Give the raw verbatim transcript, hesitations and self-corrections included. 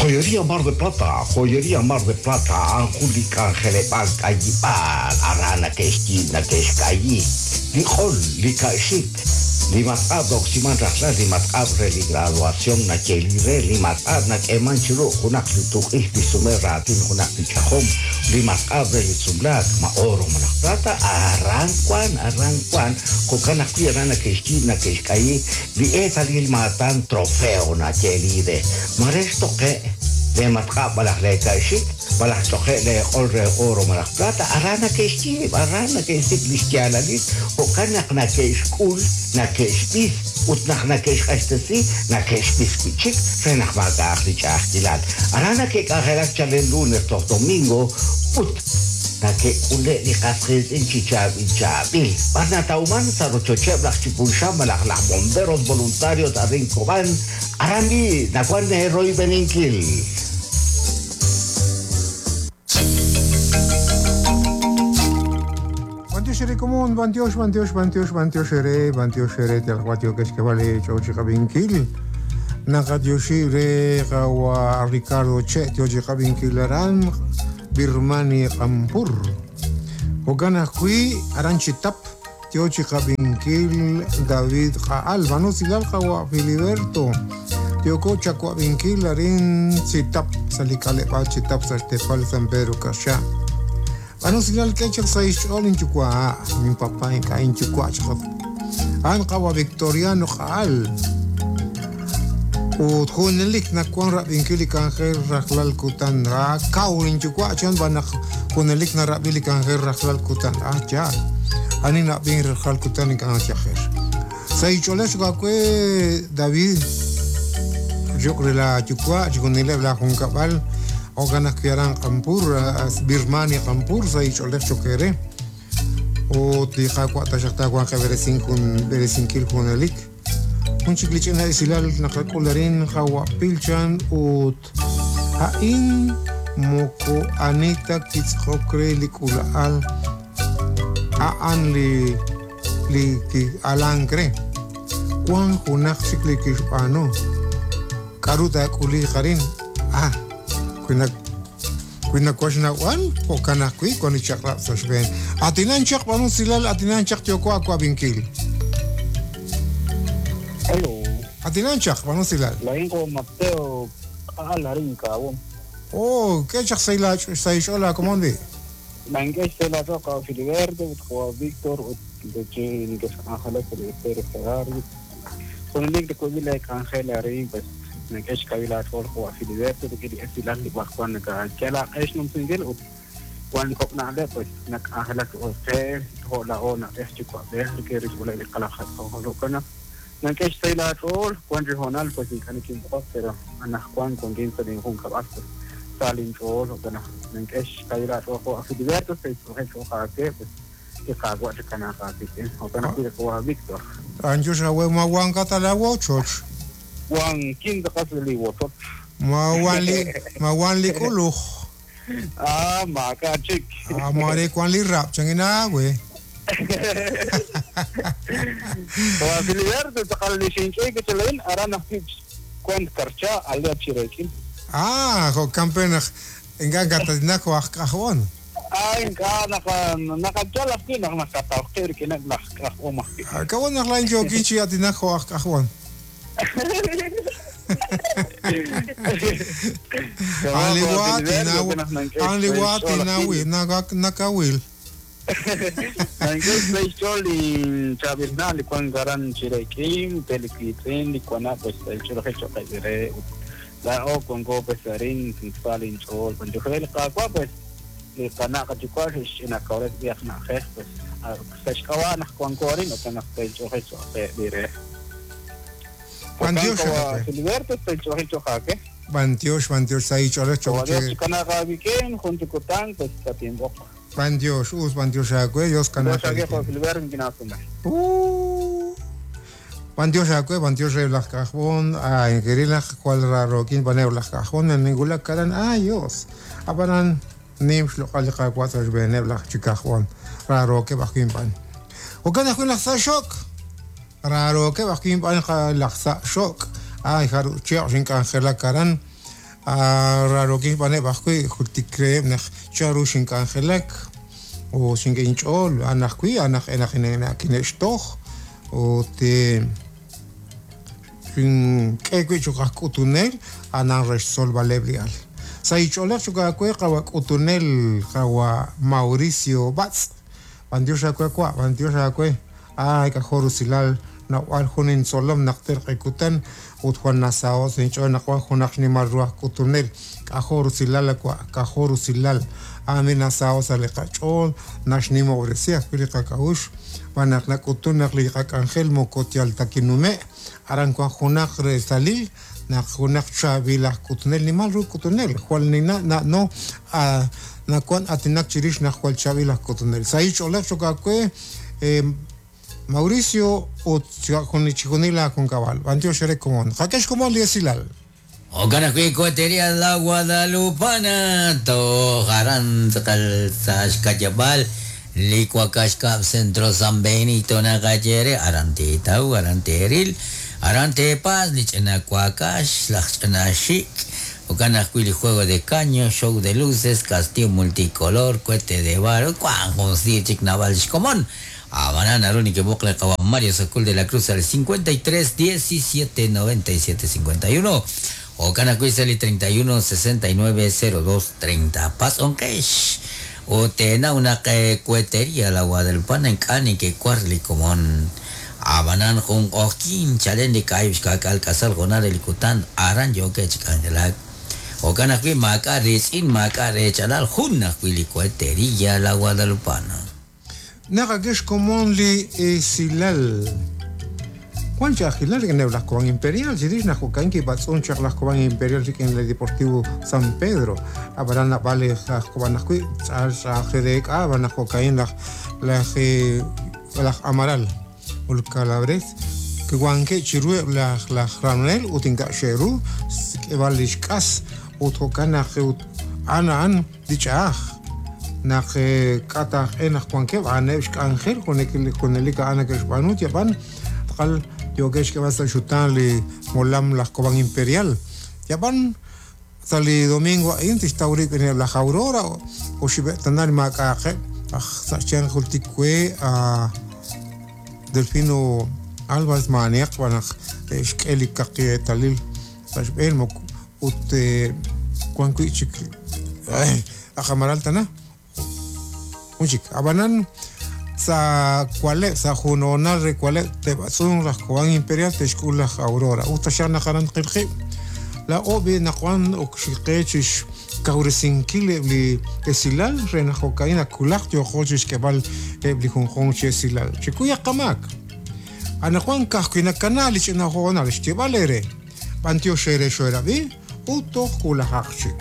Joyería Mar de Plata, Joyería Mar de Plata, a'an jun li k'anjeleb'aal k'ayib'aal, aran nake'xyiib' nake'xk'ayi, li q'ol, li ka'xik, li matq'ab' roksiman rajlal, li matq'ab' re li graduación nayeeli re, li matq'ab' nak'eeman chiru junaq li tuq'ix li sume raatin junaq li ch'ajom, li matq'ab' re li sumlaak, ma oro malaj plata, aran wan, aran wan, jo'kan ajwi' aran nake'xyiib' nake'xk'ayi, li eetalil maatan trofeo nayeeli re, mare xtoqe' le matq'ab' malaj le ka'xik, malaj ch'oqe' le q'ol re oro malaj plata, aran nake'xyiib', aran nake'xsik' li xyaalalil, jo'kan naq nake'xk'ul, nake'xb'is, ut naq nake'xq'axtesi, nake'xb'is wi' chik re naq maak'a'aq li ch'a'ajkilal. Aran nake'k'anjelak chalen lunes toj domingo, ut nake'k'ule' li qas qiitz'in chi chaab'il chaab'il. B'ar natawman sa' rochocheb' laj Chipulxan malaj laj bomberos voluntarios arin Cobán, aran bi nawan roybeninkil. Bantiox común, bantiox, bantiox, bantiox, bantiox ere, bantiox ere, tialhuatio que es que vale chochicabinkil. Nakatioshi re kawa Ricardo Che, tiochicabinkil aran, Birmani Kampur. Hogana hui aranchitap, tiochicabinkil David Qaal, Banusilal kawa Filiberto. Tioko chacuabinkil arin chitap, salikalepa chitap, saltepal San Pedro Kasha. Banusilal kechak sa ischol inchukwa, mi papá inka inchukwa chakot. An kawa Victoriano Qaal. Ut junelik nakuan rabinkil ikanjer rajlal kutan ra kaw inchukwa chan banak junelik na rabil ikanjer rajlal kutan ah ya. Ani nabin rajlal kutan ikan chajer. Sa icholes kakwe David yo la chukwa chikunile la junkabal oganas kiaran Kampur Birmani Kampur sa icholes chokere. O tija cuata juan que kun beresinkil junelik. Un chiklichina isilal nakakularin hawa pilchan ut hain moko anita kitzhokre likulaal aan li li ki alankre Juan junak chiklikishpano karuta kuli karin ah kuinak kuinak kuashna wan o kanakui con ichakra soshben atinan chak panun silal atinan chak tioko aquabinkil. Hello. Atinanchak, panusilal. Lainko Mateo alarin kawon. Oh, ¿qué chak saila saishola komondi? Mangue sela toka Filiberto, ko Víctor, de che que Ángeles de Pérez Ferrari. Con el link de Covila Ángel Arin, pues me que kabila tol ko Filiberto de que esilan di bakwan ka kala es num singel ut wan ko na le pues nak Ángeles o se ho la ona es chico de que risula de kala ko lo kana. Nankesh sayla tol Juan Regional pues in pero anak Juan con quince de junca pues salin tol o kana nankesh sayla tol ko Filiberto se o que pues que cagua de kana que o kana ko Víctor Anjo sawe ma wan katala wochoch Juan quince qasli wochoch ma wan li ma wan li kuluj ah ma ka chik ah mare Juan li rap changina we Wa Filiberto taqalli shinqi kitlain arana fix kwant karcha alla chirekin. Ah, jo campeón enga gatadina ko akahon. Ah, enga naka nakajala ki nak nakatawqir ki nak nakahoma. Kawon naklain jo kinchi atina ko akahon. Anliwati nawi nakawil. Nankesh leichol chabirna li kwan garan chirekin pelikitrin li kwana pues el choroje chokere la o con go pues arin salin chol con chojel qaqwa pues li qana qachukwa ina kawret biaqna khe pues sashkawa nah kwan korin o kana el choje chokere Bantiosh Filiberto el choje chokake Bantiosh Bantiosh sai chole choche kana qabiken junto kutan pues tiempo Bandios, us bandios agüe, Dios canal. Uh. Bandios agüe, bandios re las cajón, a en cual raro, quien baneo las cajón, en ninguna caran, ah, Dios. Aparan, nimsh lo calca cuatro bene las chicajón, raro que bajín pan. O cana con las shock. Raro que bajín pan las shock. Ay, jaru, cheo, sin cangela caran. Rarokin b'aneb' ajwi' jultik reheb' naq chanru xink'anjelak o xink'inch'ool an ajwi' an aj kine'xtoj ut xink'e wi' choq' aj k'utunel anan re xtzolb'aleb' li al. Sa ich'oolej choq' aawe qawa k'utunel qawa Mauricio Batz. B'antiox aawe wa, b'antiox aawe. Ay k'ajor rusilal nawb'al jun intzolom naq terq'ekutan ut Juan Nasao sinch'ool naq wan junaq xnimal ru aj k'utunel k'ajor rusilal wa, k'ajor rusilal. Ami nasao sa' li qach'ool naxnimob'resi ajwi' li qak'a'uxl b'an naq nak'utun naq li qak'anjel moko yal ta kinume' aran wan junaq reetalil naq junaq chaab'il aj k'utunel nimal ru k'utunel jwal nina na'no nawan aatinak chirix naq jwal chaab'il aj k'utunel. Sa ich'oolej choq' aawe Mauricio ut chijunil aajunkab'al. B'antiox re komon. Qak'ex komon li esilal. Okan ajwi' Cohetería La Guadalupana toj aran tz'aqal sa' xka'yab'al li Wak'axkab' Centro San Benito naqayere aran teetaw aran teeril aran teepas li ch'ina wakax laj ch'ina xik' okan ajwi' li juego de caño, show de luces, castillo multicolor, cohete de barro wan jun siir chik naab'al xkomon. Abanan naru nikeb'oq le qawa Mario Sacul de la Cruz al cincuenta y tres diecisiete noventa y siete cincuenta y uno okan ajwi' sa' li treinta y uno sesenta y nueve cero dos treinta. Pas'onqex o teenaw naq Cohetería La Guadalupana ink'a' nikekuar li komon. Abanan jun q'ojkin chalen li k'ayib' xka'k'al k'asal jonal re li kutan aran yookeb' chi k'anjelak. Okan ajwi' maak'a' riitz'in maak'a' reechalal jun ajwi' li Cohetería La Guadalupana. Naqak'ex komon li esilal. Juan Chajilal rik'in laj Cobán Imperial chirix naq jo'kan kib'atz'un chaq laj Cobán Imperial rik'in el Deportivo San Pedro. Ab'aran nab'al laj Cobán ajwi' tz'al tz'aj reek'a ab'an naq jo'kan laj laj laj Amaral ul Calabres kiwanke' chiruheb' laj laj Ramnel ut ink'a' xe'ru k'eb'al li xk'as ut jo'kan naq ut a'an a'an li ch'a'aj naq k'ataj e naq wankeb' a'aneb' xk'anjel junelik a'an nake'xb'aanu yab'an tqal yookeb' xk'eb'al sa' xutan li molam laj Cobán Imperial yab'an sa' li domingo a'in tixtaw rib' rik'ineb' laj Aurora oxib'e'tanal maak'a'aqeb' aj sa' xyanq jultik we a Delfino Álvarez maaniaq b'an naq xk'e li kaqieetalil sa' xb'een ut wan wi' chik aj Amaral tana jun chik ab'anan sa' kualeb' sa' junonal re kualeb' teb'atz'un laj Cobán Imperial texk'ul laj Aurora ut taxaq naq aran qilqib' la ob'i naq wan okxiqe chix kawresinkil eb' li esilal re naq jo'ka'in akulaq yooqo chixk'eb'al eb' li junjunq chi esilal chikuyaq qamaak anaqwan ka'ajwi' nakana li ch'ina hoonal xyeeb'al eere b'antiox eere xoerab'i ut toj wulajaq chik.